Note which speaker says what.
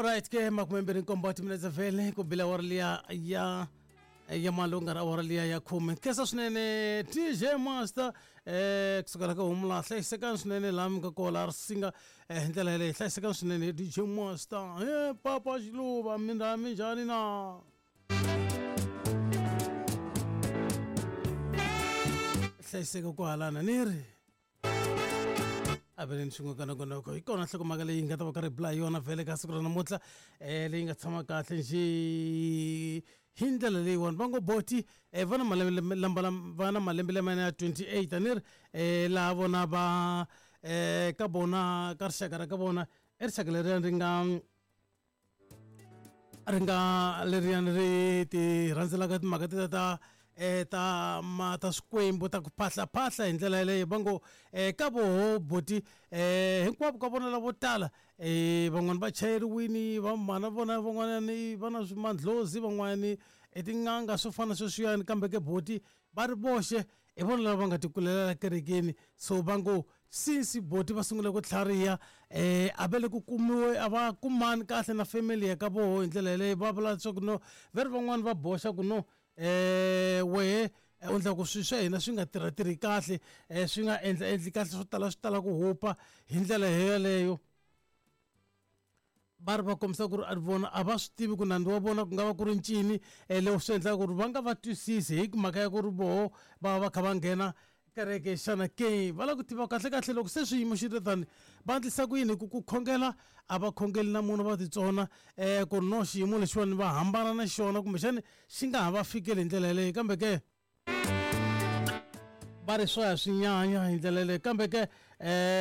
Speaker 1: Alright ke 27 wa timinetse vhele ku bila awara liya ya ya malunga ra awara liya ya khume. Khensa swinene DJ Master kusukela ka Humula hlayisekani swinene laha mi nga kona laha Risinga hi ndlela yaleyo hlayisekani swinene DJ Master he Papa Xiluva minjhani minjhani na hlayiseka kwahalana ni ri aveleni swin'we ka nongonoko hi kona nhlokomhaka leyi nga ta va karhi bula hi yona vhele ka siku ra namuntlha um leyi nga tshama kahle njhe hi ndlela leyiwani va ngo boti um va na malembe va na malembe lamaya ya 28 a ni ri um laha vona va um ka vona ka rixaka ra ka vona i rixaka leriya ri nga ri nga leriyani ri ti rhandzelaka timhaka teta ta ta ma ta swikwembu ta ku phahlaphahla hi ndlela yeleyo va ngo ka voho buti hinkwavo ka vona lavo tala van'wani va chayeriwini va mhana vona van'wanyani va na mandlhozi van'wani i tin'anga swo fana sweswiyani kambe ke buti va ri voxe hi vona lava va nga tikulela kerekeni so va ngo since boti va sungule ku tlhariha um a va le ku kumiwe a va kumani kahle na family ya ka voho hi ndlela yeleyo va vula leswaku no ve ri van'wani va boxa ku no um wehe u endla ku swilo swa hina swi nga tirhatirhi kahle um swi nga endla endli kahle swo tala swi tala ku hupa hi ndlela yeleyo va ri va kombisa ku ri vona a va swi tivi ku nandzu wa vona ku nga va ku ri ncini um leswi swi endlaka ku ri va nga va twisisi hi mhaka ya ku ri voho va va va kha va nghena kereke xana ke va lava ku tiva kahlekahle loko se swiyimo xi ri tani va endlisa ku yini hi ku ku khongela a va khongeli na munhu va titsona um ku ri no xiyimo lexiwani va hambana na xona kumbexani xi nga ha va fikeli hi ndlela yeleyo kambe ke va ri swo ya swi nyanya hi ndlela yeleyo kambe ke um.